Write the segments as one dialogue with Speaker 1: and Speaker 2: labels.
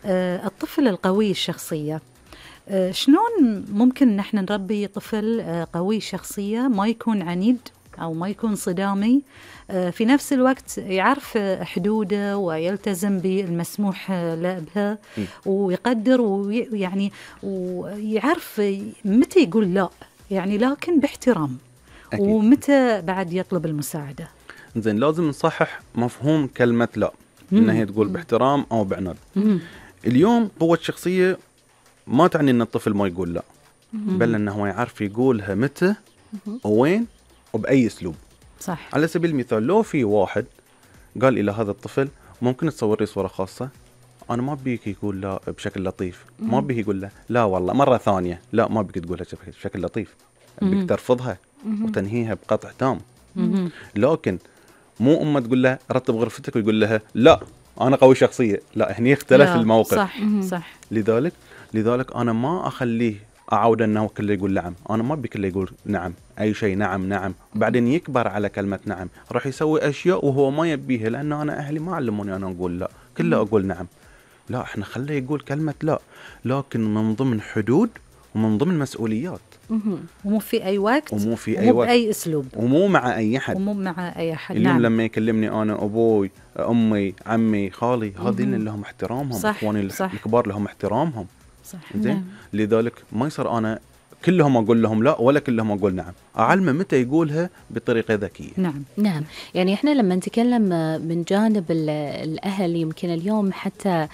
Speaker 1: الطفل القوي الشخصية، شلون ممكن نحن نربي طفل قوي الشخصية ما يكون عنيد أو ما يكون صدامي، في نفس الوقت يعرف حدوده ويلتزم بالمسموح له بها ويقدر ويعني ويعرف متى يقول لا، يعني لكن باحترام. أكيد. ومتى بعد يطلب المساعدة.
Speaker 2: زين، لازم نصحح مفهوم كلمة لا، إنها هي تقول باحترام أو بعناد. اليوم قوة الشخصية ما تعني إن الطفل ما يقول لا، بل إنه هو يعرف يقولها متى ووين وبأي أسلوب.
Speaker 1: صح.
Speaker 2: على سبيل المثال، لو في واحد قال إلى هذا الطفل ممكن تصور لي صورة خاصة، أنا ما بيك يقول لا بشكل لطيف، ما بيك يقول له لا والله مرة ثانية، لا ما بيك تقولها بشكل لطيف، بيك ترفضها وتنهيها بقطع تام. لكن مو أمه تقول له رتب غرفتك ويقول لها لا أنا قوي شخصية، لا هني اختلف الموقف.
Speaker 1: صح.
Speaker 2: لذلك أنا ما أخليه أعود أنه كله يقول نعم، أنا ما بي كله يقول نعم أي شيء نعم، وبعدين يكبر على كلمة نعم، راح يسوي أشياء وهو ما يبيها، لأنه أنا أهلي ما علموني أنا أقول لا، كله أقول نعم. لا، إحنا خليه يقول كلمة لا، لكن من ضمن حدود ومن ضمن مسؤوليات،
Speaker 1: ومو في أي وقت،
Speaker 2: ومو في أي وقت،
Speaker 1: بأي أسلوب،
Speaker 2: ومو مع أي حد، اليوم لما يكلمني أنا أبوي أمي عمي خالي، هذين اللي لهم احترامهم، إخواني الكبار لهم احترامهم.
Speaker 1: صح.
Speaker 2: زين. لذلك ما يصير أنا كلهم أقول لهم لا ولا كلهم أقول نعم، أعلمه متى يقولها بطريقة ذكية.
Speaker 3: نعم. يعني إحنا لما نتكلم من جانب الأهل، يمكن اليوم حتى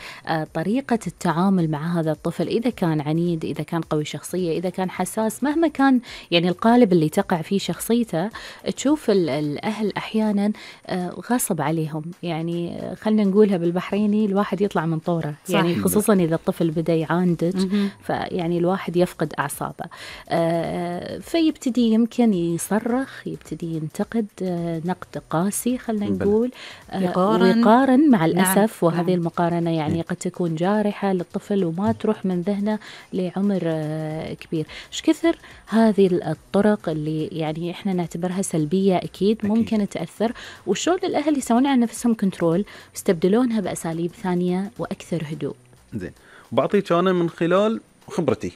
Speaker 3: طريقة التعامل مع هذا الطفل، إذا كان عنيد، إذا كان قوي شخصية، إذا كان حساس، مهما كان يعني القالب اللي تقع فيه شخصيته، تشوف الأهل أحيانا غصب عليهم، يعني خلنا نقولها بالبحريني الواحد يطلع من طوره. يعني خصوصا إذا الطفل بدأ يعاندج، فيعني الواحد يفقد أعصابه، فيبتدي يمكن يصرخ، يبتدي ينتقد نقد قاسي، خلنا نقول، ويقارن مع الأسف. وهذه المقارنة يعني قد تكون جارحة للطفل وما تروح من ذهنه لعمر كبير. ايش كثر هذه الطرق اللي يعني احنا نعتبرها سلبية أكيد ممكن تأثر، وشلون الأهل يسوون على نفسهم كنترول، يستبدلونها بأساليب ثانية وأكثر هدوء.
Speaker 2: زين، بعطيك أنا من خلال خبرتي،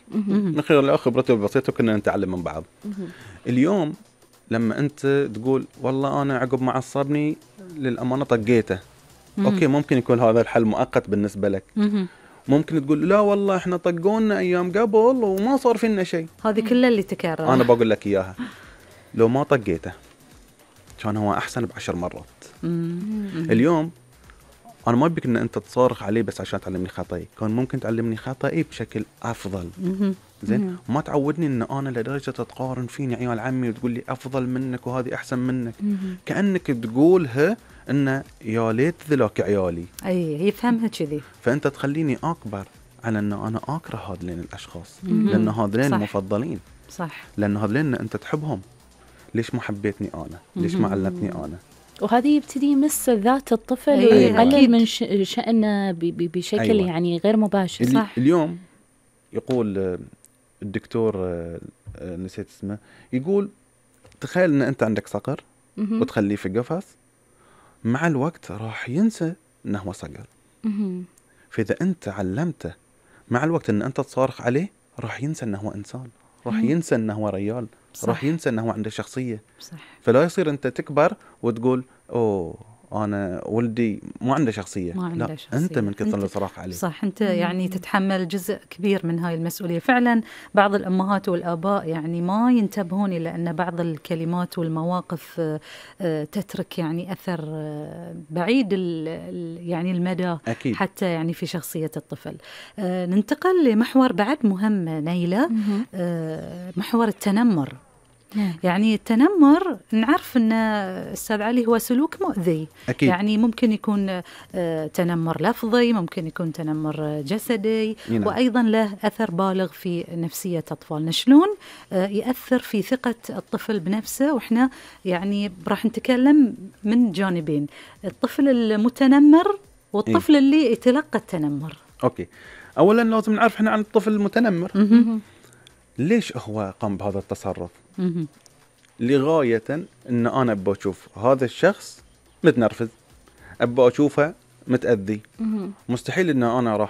Speaker 2: البسيطة كنا نتعلم من بعض. اليوم لما أنت تقول والله أنا عقب ما عصبني للأمانة طقيته، أوكي، ممكن يكون هذا الحل مؤقت بالنسبة لك. ممكن تقول لا والله إحنا طقونا أيام قبل وما صار فينا شيء،
Speaker 1: هذه كلها اللي تكرر.
Speaker 2: أنا بقول لك إياها، لو ما طقيته كان هو أحسن ب10 مرات. اليوم أنا ما بيك إن أنت تصارخ عليه بس عشان تعلمني خطأي، كان ممكن تعلمني خطأي بشكل أفضل. زين، ما تعودني إن أنا لدرجة تقارن فيني عيال عمي وتقول لي أفضل منك وهذه أحسن منك، كأنك تقولها إن يا ليت ذلك عيالي.
Speaker 1: أي يفهمها كذي،
Speaker 2: فأنت تخليني أكبر على إن أنا أكره هذين الأشخاص، لأن هذين مفضلين.
Speaker 1: صح.
Speaker 2: لأن هذين أنت تحبهم، ليش ما حبيتني أنا؟ ليش ما علمتني أنا؟
Speaker 3: وهذه يبتدي يمس ذات الطفل ويقلل من شأنه بشكل يعني غير مباشر.
Speaker 1: صح.
Speaker 2: اليوم يقول الدكتور نسيت اسمه، يقول تخيل ان انت عندك صقر وتخليه في قفص، مع الوقت راح ينسى انه هو صقر. فاذا انت علمته مع الوقت ان انت تصارخ عليه، راح ينسى انه هو انسان، راح ينسى انه هو رجال، راح ينسى انه هو عنده شخصية.
Speaker 1: صح.
Speaker 2: فلا يصير انت تكبر وتقول اوه أنا ولدي ما عنده شخصية. لا، أنت من كثر الصراخ عليه.
Speaker 1: صح، أنت يعني تتحمل جزء كبير من هاي المسؤولية. فعلا بعض الأمهات والآباء يعني ما ينتبهون إلى أن بعض الكلمات والمواقف تترك يعني أثر بعيد يعني المدى.
Speaker 2: أكيد.
Speaker 1: حتى يعني في شخصية الطفل. ننتقل لمحور بعد مهم نيلة، محور التنمر. يعني التنمر نعرف أن أستاذ علي هو سلوك مؤذي.
Speaker 2: أكيد.
Speaker 1: يعني ممكن يكون تنمر لفظي، ممكن يكون تنمر جسدي، وأيضا له أثر بالغ في نفسية أطفالنا. شلون يأثر في ثقة الطفل بنفسه؟ وإحنا يعني راح نتكلم من جانبين، الطفل المتنمر والطفل اللي يتلقى التنمر.
Speaker 2: أوكي، أولا لازم نعرف إحنا عن الطفل المتنمر ليش هو قام بهذا التصرف. لغاية إن أنا أبغى أشوف هذا الشخص متنرفز، أبغى أشوفه متأذي. مستحيل إن أنا راح